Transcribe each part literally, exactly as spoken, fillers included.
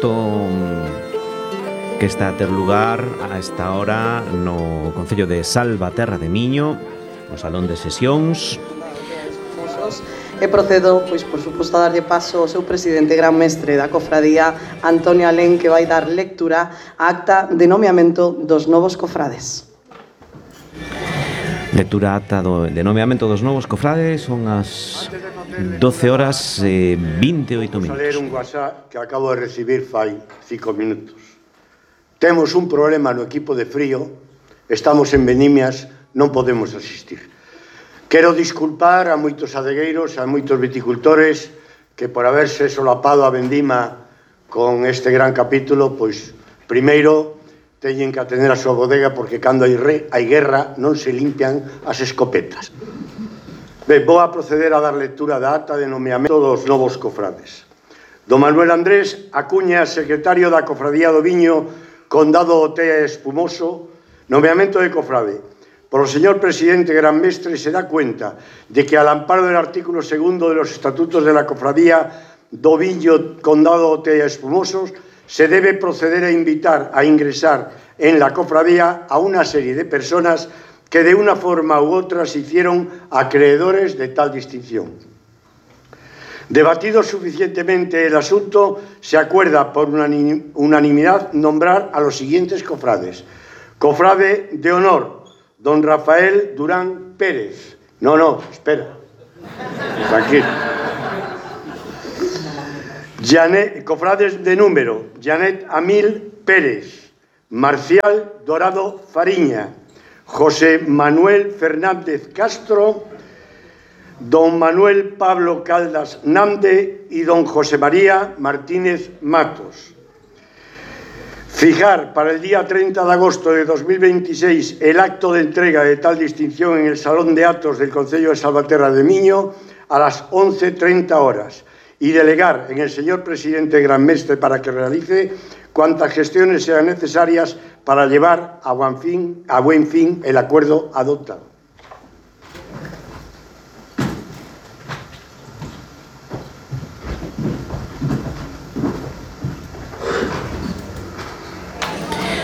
acto que está a ter lugar a esta hora no Concello de Salvaterra de Miño, no Salón de Sesións. E procedo, pois, por suposto, a darlle paso ao seu presidente gran mestre da cofradía, Antonio Alén, que vai dar lectura á acta de nomeamento dos novos cofrades. Lectura acta do, de nomeamento dos novos cofrades, son as doce horas e vinte e oito minutos. Vamos a ler un WhatsApp que acabo de recibir fai cinco minutos. Temos un problema no equipo de frío, estamos en Benimias, non podemos asistir. Quero disculpar a moitos adegueiros, a moitos viticultores que por haberse solapado a vendima con este gran capítulo, pois primeiro teñen que atender a súa bodega porque cando hai, re, hai guerra non se limpian as escopetas. Ben, vou a proceder a dar lectura da acta de nomeamento dos novos cofrades. Don Manuel Andrés Acuña, secretario da Cofradía do Viño, Condado do Tea Espumoso, nomeamento de cofrade. Por el señor presidente Gran Mestre se da cuenta de que al amparo del artículo segundo de los estatutos de la cofradía do Viño Condado de Tea Espumosos se debe proceder a invitar a ingresar en la cofradía a una serie de personas que de una forma u otra se hicieron acreedores de tal distinción. Debatido suficientemente el asunto, se acuerda por unanimidad nombrar a los siguientes cofrades. Cofrade de honor, don Rafael Durán Pérez. No, no, espera. Tranquilo. Janet, cofrades de número. Janet Amil Pérez. Marcial Dorado Fariña. José Manuel Fernández Castro. Don Manuel Pablo Caldas Nande y don José María Martínez Matos. Fijar para el día treinta de agosto de dos mil veintiséis el acto de entrega de tal distinción en el Salón de Actos del Concello de Salvaterra de Miño a las once treinta horas y delegar en el señor presidente Gran Mestre para que realice cuantas gestiones sean necesarias para llevar a buen fin, a buen fin el acuerdo adoptado.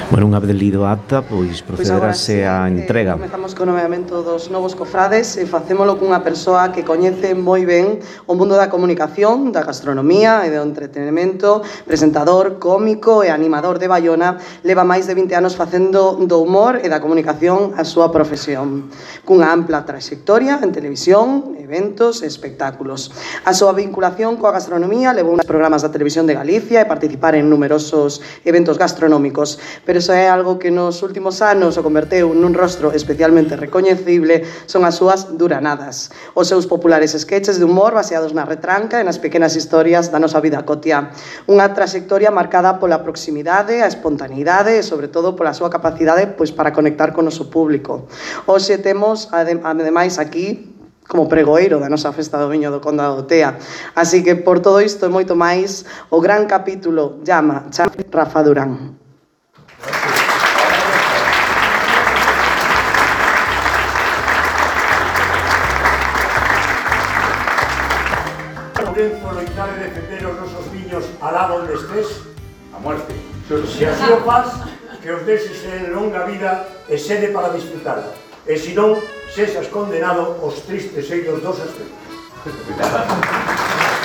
Bueno, unha vez lido a acta, pois procederase a entrega. Eh, comezamos co nomeamento dos novos cofrades e facémolo cunha persoa que coñece moi ben o mundo da comunicación, da gastronomía e do entretenimento, presentador, cómico e animador de Baiona, leva máis de vinte anos facendo do humor e da comunicación a súa profesión, cunha ampla trayectoria en televisión, eventos e espectáculos. A súa vinculación coa gastronomía levou uns programas da televisión de Galicia e participar en numerosos eventos gastronómicos, pero iso é algo que nos últimos anos o converteu nun rostro especialmente recoñecible, son as súas duranadas, os seus populares sketches de humor baseados na retranca e nas pequenas historias da nosa vida cotiá. Unha trayectoria marcada pola proximidade, a espontaneidade e, sobre todo, pola súa capacidade pois, para conectar con o noso público. Hoxe temos, ademais, aquí como pregoeiro da nosa festa do Viño do Condado do Tea. Así que, por todo isto e moito máis, o gran capítulo llama Chame Rafa Durán. Lourenzo loitare de defender os nosos viños alá onde estés, a muerte. Se así o faz, que os deses en longa vida e sede para disfrutarla. E se non, sexas condenado aos tristes eiros dos astros.